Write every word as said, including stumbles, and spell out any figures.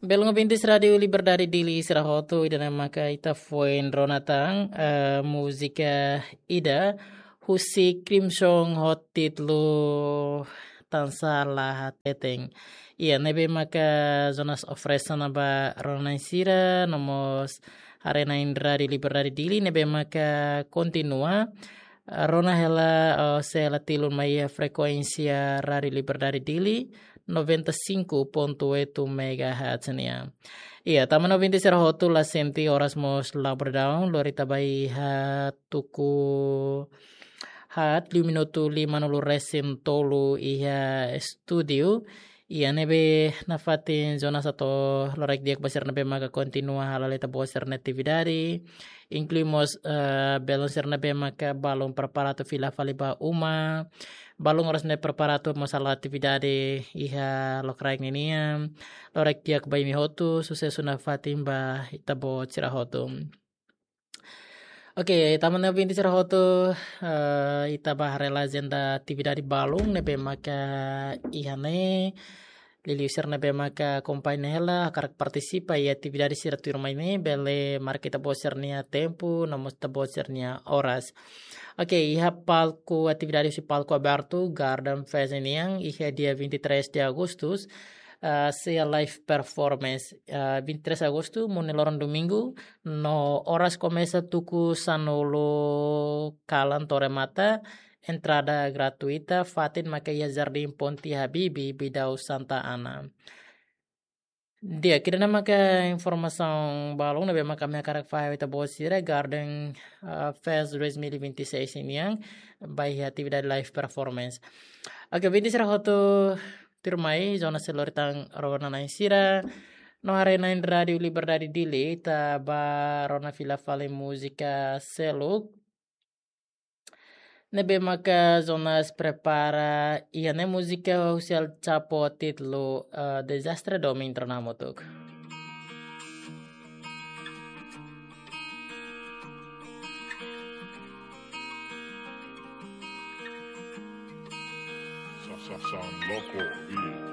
Belun ouvintes Rádiu Liberdade Dili sira hotu, ida-ne'e maka ita foin rona tan, eh, múzika ida husi Crimson ho títulu Tansá La Hateten. Iha ne'ebé maka Jonas oferese ona ba rona-na'in sira, no mós haree-na'in Rádiu Liberdade Dili, ne'ebé maka kontinua rona hela, eh, sei hela tilun mai iha frekuénsia Rádiu Liberdade Dili, noventa e cinco ponto oito megahertz nian. Iha, tanba ouvintes sira hotu la sente oras mós la berdaun, lori ita ba iha tuku haat, liu minutu lima-nulu-resin-tolu iha estúdiu. Iha ne'ebé nafatin Jonas atu loraik di'ak ba sira ne'ebé maka kontinua hala'o ita-boot sira-nia atividade. Inklui mós, eh, belun sira ne'ebé maka balun prepara atu fila fali ba uma. Balun oras ne'e prepara atu mós hala'o atividade iha lokraik ninian. Loraik di'ak ba imi hotu, susesu nafatin ba ita-boot sira hotu. Oke, tanba ouvintes sira hotu, eh, ita ba haree hela ajenda atividade balun ne'ebé maka iha ne'e. Liuliu sira ne'ebé maka akompaña hela, hakarak partisipa iha atividade sira tuirmai ne'e, bele marka ita-boot sira-nia tempu, no mós ita-boot sira-nia oras. Oke, iha palku atividade husi palku abertu Garden Fest nian, iha dia vinte e três de Agustus, ah, sei iha live performance, ah, vinte e três Agostu, monu nia loron domingu, no oras komesa tuku sanulu kalan to'o remata, entrada gratuita, fatin maka iha Jardim Ponte Habibie, Bidau Santa Ana. Di'ak, ida-ne'e maka informasaun balun ne'ebé maka ami hakarak fahe ba ita-boot sira, Garden, ah, Fest dois mil e vinte e seis nian, ba iha atividade live performance. Oke, ouvintes sira hotu, tuirmai, Jonas sei lori tan rona-na'in sira, no haree-na'in Rádiu Liberdade Dili, ita ba rona fila fali múzika seluk. Ne'ebé maka Jonas prepara, iha ne'e múzika husi El Chapo títulu, eh, Dezastre Domin Tronamotuk. Sa-, sa-, Sound Loco Beat.